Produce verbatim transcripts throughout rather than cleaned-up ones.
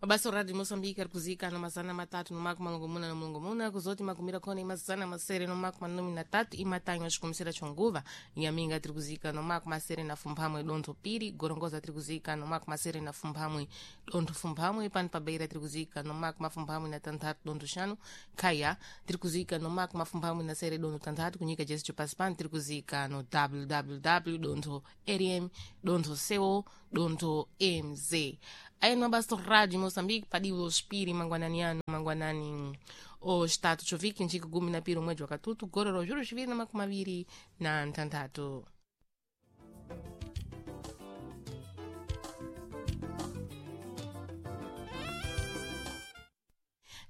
Mabasa radio Moçambique ari kuzika no mazana matatu no maku malongomuna no mulongomuna kuzoti makumira khona imazana masere no maku manumi na tatu imatanho axikomisera chonguva inhaminga tiri kuzika no maku masere na fumphamwe dontho piri gorongoza tiri kuzika no maku masere na fumphamwe dontho fumphamwe pano pa beira tiri kuzika no maku mafumphamwe na tanthatu dontho xanu khaya tiri kuzika no maku mafumphamwe na sere dontho tanthatu kunyika jesi chopasi pano tiri kuzika no www dontho rm dontho co dontho mz aí no Abasto Rádio Moçambique padiu os piri mangwanani ano mangwanani o estado choviki njiku gumi na piri mwedzi wakatutu gororo zviro zviviri na makumi maviri na ntanthatu.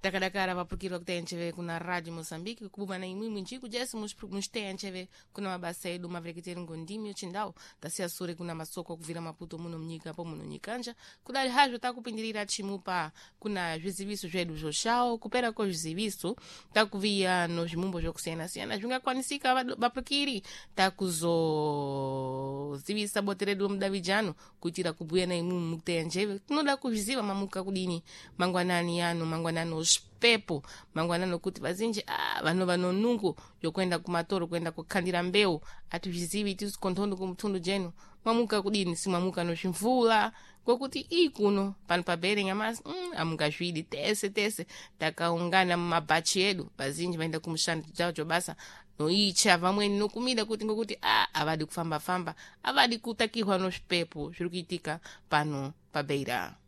Takadakara vapurukirwa kuti encheve kuna Radio Moçambique kubuma na imwimwi njiku jese muchiteya encheve kuna mabasa edu mavereketeri ngondimi yochindau tasiya sure kuna masoko kubvira Maputo muno munyika po muno nyikanja kudali hazvo takupindirira chimupa kuna zviziviso zvedu zvoxawo kupera ko zviziviso takuviya no zvimumbo zvokusiyana-siyana zvingakwanisika vado- vapurukiri takuzozivisa bote redu romudavidzano kuitira kubhuya na imwimwi mukuteya njeve tinoda kuzviziva mamuka kudini mangwanani ano mangwanani osvipepo mangwanani okuti vazinji ah, vanova nonungo yokuenda kumatoro kuenda kukhandira mbeu atizvizivi tisu konthondo kumutundu jenu mwamuka kudini simwamuka nozvimvula ngokuti ii kuno pano pabere nyamasi mm, amungazvidi tese tese takaungana mumabhachi edu vazinji vaenda kumushando jawo basa noicha vamweni nokumida kuti ngokuti a avadi kufamba-famba avadi kutakihwa nozvipepo zviri kuitika pano pabeira.